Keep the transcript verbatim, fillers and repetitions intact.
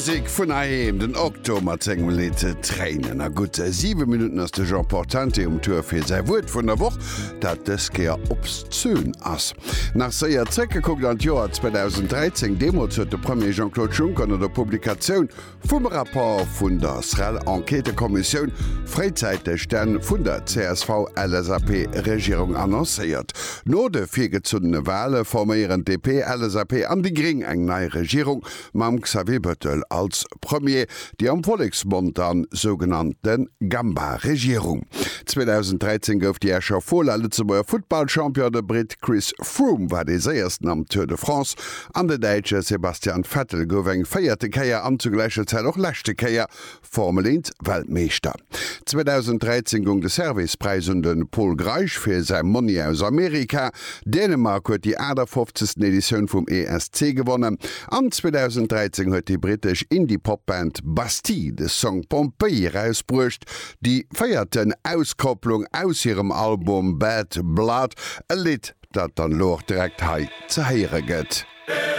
Musek vun heiheem, den Okto mat sengem Lidd Tréinen. A gutt siwe Minutten ass de Jean Portante um Tour fir säi Wuert vun der Woch, dat dës Kéier obszön ass. Nach séier zréckgekuckt an d'Joer zweedausenddräizéng, Deemools huet de Premier Jean-Claude Juncker no der Publikatioun vum Rapport vun der SREL-Enquêtëkommissioun fréizäiteg d'Enn vun der C S V L S A P-Regierung annoncéiert. No de virgezunnene Wale forméieren D P, L S A P an déi Gréng eng nei Regierung mam Xavier Bettel als Premier, déi am Volleksmond dann sougenannte Gamba-Regierung. zweedausenddräizéng gouf déi Escher Fola Lëtzebuerger Futtballchampion, de Britt Chris Froome war dee Séiersten am Tour de France an de Däitsche Sebastian Vettel gouf eng véierte Kéier an zu gläicher Zäit och leschte Kéier Formel eent Weltmeeschter. zweedausenddräizéng goung de Servais-Präis un de Pol Greisch fir säi Monni aus Amerika. Dänemark huet déi aachtafofzegsten Editioun vum E S C gewonnen an zweedausenddräizéng huet déi brittesch Indie-Pop-Band Bastille de Song Pompeii erausbruecht, déi véierten Auskopplung aus hirem Album Bad Blood, e Lidd, dat dann elo och direkt hei ze héiere gëtt.